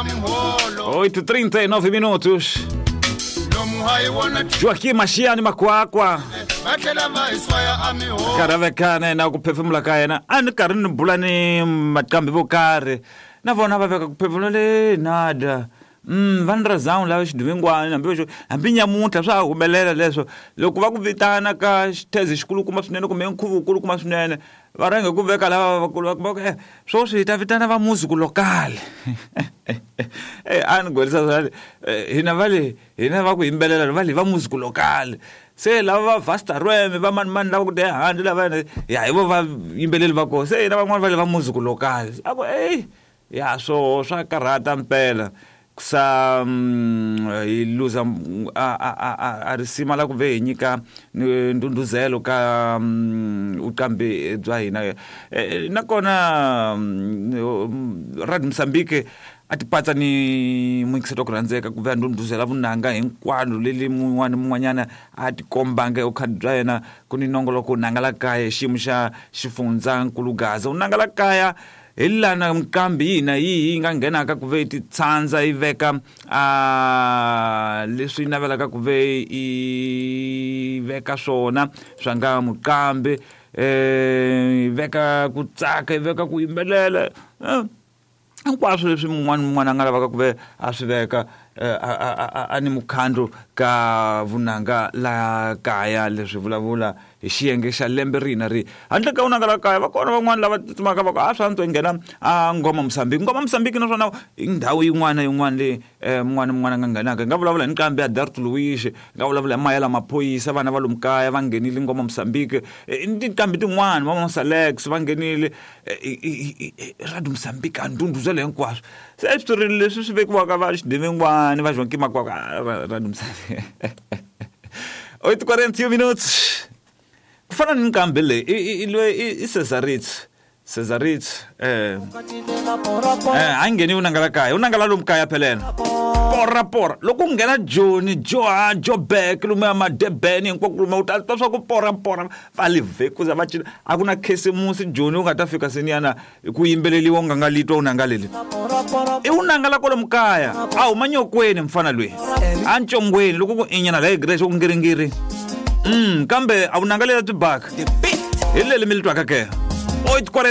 8:39 minutos. Joaquim Maxiani Makwakwa karhi a vekana na ku phefemula ka yena a ni karhi ni bula ni maqambi vo karhi na vona va veka ku phefemula le nada. Va ni razawu lava xidumingwani hambi vaxo hambi nyamuntlha swa ha humelela leswo loko va ku vitana ka xithezi xikulukumba swinene kumbe nkhuvo wukulukumba swinene va rhange ku veka lava vakulu va ku sweswi hi ta vitana va music local. A ni gorisa swa hina va le hina va ku yimbelela va le va music local, se lava va Vasta Rweme va mani mani lava ku te handle lava ya hi vo va yimbeleli va kona, se hina van'wani va le va music local a ku ey ya swo swa karhata mpela sa hi luza a risima la ku ve hi nyika ndhundhuzelo ka vuqambi bya hina. Nakona Radio Mozambique a ti patsa ni muyingiseri wa ku rhandzeka ku ve a ndhundhuzela vunanga hinkwalo leli mun'wana mun'wanyana a ti kombanga evukhadi bya yena ku ni nongoloko nanga la kaya xiyimo xa xifundzankulu Gaza. U nanga la kaya hi lana nqambi yihi na yihi yi nga nghenaka ku ve ti tsandza yi veka a leswi navelaka ku ve yi veka swona swa nga muqambi, yi veka ku tsaka, yi veka ku yimbelela, hinkwaswo leswi mun'wana mun'wana a nga lavaka ku ve a swi veka a ni mukhandlu ka vunanga la kaya. Leswi vulavula hi xiyenge xa lembe rihi na rihi handle ka vunanga la kaya va kona van'wana lava tsutsumaka va ku a swa antswa yi nghena a Ngoma Mozambique. Ngoma Mozambique naswona i ndhawu yin'wana na yin'wana leyi mun'wana na mun'wana a nga nghenaka. Hi nga vulavula hi nqambi ya Dart Luiz, hi nga vulavula hi Mayela Maphorisa, vana va lomu kaya va nghenile Ngoma Mozambique, ni tinqambi tin'wana va Mosalex va nghenile Radio Mozambique a ndhundhuzelo hinkwaswo. Se switori leswi swi vekiwaka va xidimingwani va Joaquim Makwakwa Radio Mozambique. 8:41 minutos. Ku fana ni nqambi leyi i loyi i Cesaritz. Cesaritz a ngheni u nangala kaya, u nangala lomu kaya phela yena. Pora pora loko ku nghena Joni, Joha, Joburg lomu ya Madurban hinkwako lomu u ta twa swa ku pora pora va le vhekuza va cina. A ku na khisimusi Joni u nga ta fika seniyana ku yimbeleliwa u nga nga litwa u nanga leli. I u nangala kwalomu kaya a huma nyokweni mfana loyi a ncongweni loko ku inyana la hi ku ngiringiri. Kambe a wu nangalela tibaka hi leli mi li twaka ke. 8:40.